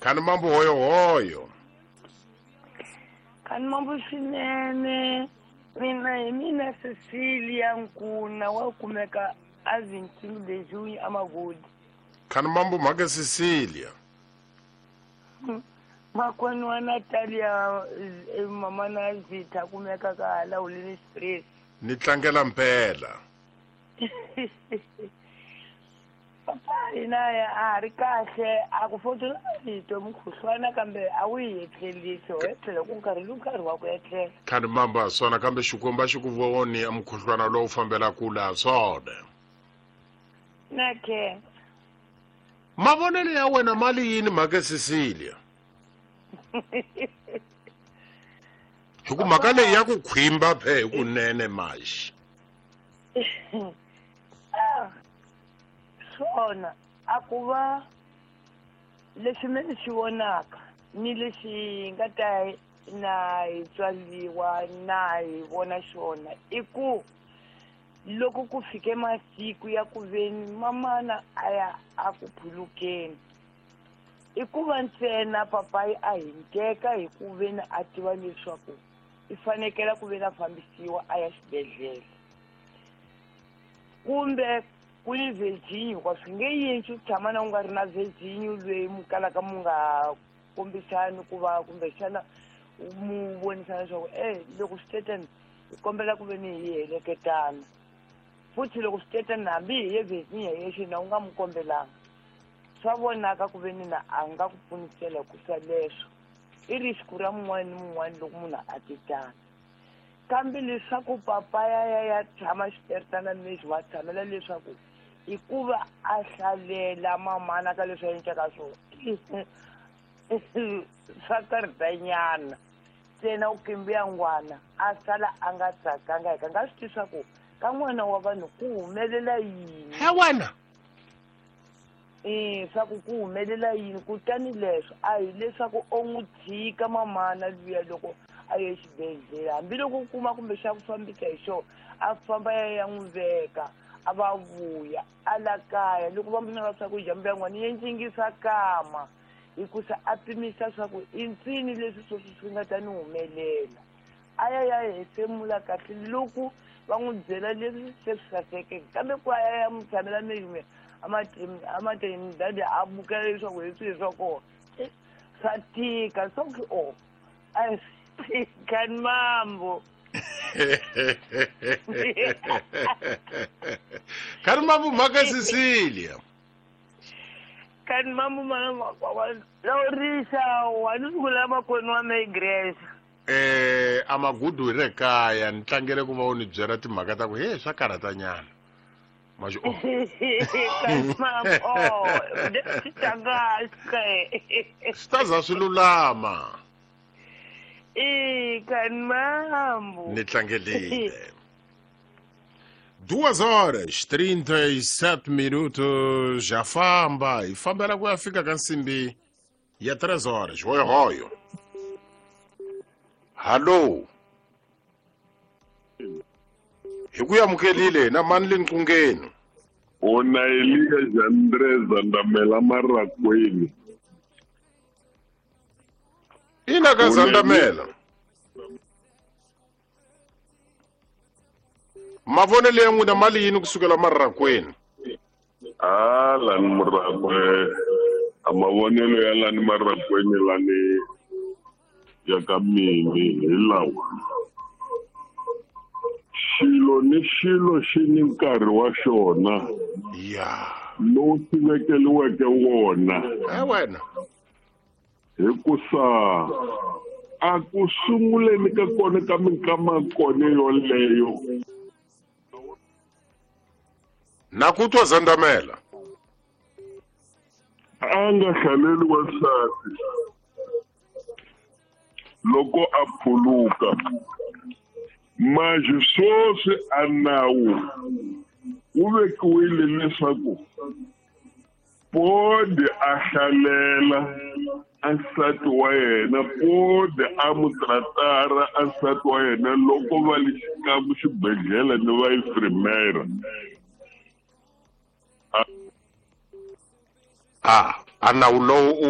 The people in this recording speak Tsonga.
Khani mambo hoyohoyo. Khani mambo swinene. Mina hi mina Cecilia Nkuna wa kumeka a 25 de junho eMagodi. Khani mambo mhaka Cecilia. Makwenu wa Natalia mama na Zitha kumeka ka hala Holini Express. Ni tlangela mpela. Papa hina a ha ri kahle a ku fotela rito mukhuhlwana kambe a wu yi etlelisi ho etlela ku nkarhi ni nkarhi wa ku etlela. Khani mambo ha swona kambe Xikwembu a xi ku voni mukhuhlwana lowu fambela kule ha swona. Na khensa. Mavonelo ya wena ma li yini mhaka Cecilia? Hi ku mhaka leyi ya ku khwimba phe hi kunene maxi. Swona a ku va lexi me ni xi vonaka ni lexi nga ta na hi tswaliwa na hi vona xona i ku loko ku fike masiku ya ku veni mamana a ya a ku phulukeni i ku va ntsena papayi a hinteka hi ku veni a tiva leswaku i fanekela ku veni a fambisiwa a ya xibedhlele kumbe ku ni Virginia hikuva swi nge yintshi ku tshama na u nga ri na Virginia loyi mu kalaka mu nga kombisani ku va kumbexana mu vonisana leswaku e loko swi tetani hi kombela ku ve ni hi heleketana futhi loko swi tetani hambi hi ye Virginia yexe na u nga mu kombelanga swa vonaka ku ve ni na a nga ku pfunisela hikusa leswo i risku ra mun'wana ni mun'wana loko munhu a tetana. Kambe leswaku papa ya ya ya tshama xiteretana lexi wa tshamela leswaku i ku va a hlalela mamana ka leswi a endlaka swona swa karhatanyana ntsena u kimbiya ngwana a sala a nga tsakanga hi ka nga swi tivi swa ku ka n'wana wa vanhu ku humelela yini. He wena. E swa ku ku humelela yini kutani leswo a hi leswaku o n'wi tshika mamana luya loko a ye exibedhlele hambiloko u kuma kumbe xa ku fambisa hi xona a famba ya ya n'wi veka a va vuya a la kaya loko va n'wi nyika swakudya mbuya n'wana yi ndlingisa kama hikusa a pimisa swa ku i ntsini leswi sweswi swi nga ta ni humelela a ya ya hefemula kahle loko va n'wi byela leswi se swi sasekeke kambe ku a ya ya n'wi tshamela meyume amateni dadi a bukela leswaku hi swihi swa kona swa tika swa ku o a swi tika ni mambo. Kani mambo mhaka Cecilia. Kani mambo laurisa wa ni sungula makwenu wa me igreja. Eh a magudu hi re kaya ni tlangele ku va u ni byela timhaka ta ku he swa karhatanyana. Maxi o. Kani mambo oh swi Swi ta za swi lulama. E kani mambo. Ni tlangelile. 2 horas 37 minutos já famba hi fambela ku ya fika ka nsimbi ya 3 horas hoyohoyo hallo hi ku amukelile na mani le nqungeni Ona Eliya Jandreza Ndamela Marakweni. Ina ka Zandamela. Mavonelo ya n'wina mali yini kusukela marakweni? A lani murakwe a mavonelo ya lani marakweni lani ya ka mini hi lawa. Xilo ni xilo xi ni nkarhi wa xona. Ya. Lowu xi vekeliweke wona. E wena. Hikusa a ku sunguleni ka kona ka minkama kona yoleyo. Na ku twa Zandamela. A nga hlaleli wansati loko a phuluka. Manje sweswi a nawu wu vekiwile leswaku Podi a hlalela a nsati wa yena, Podi a mu tratara a nsati wa yena loko va le xikan'we xibedhlele ni va infirmera. A, a nawu lowu u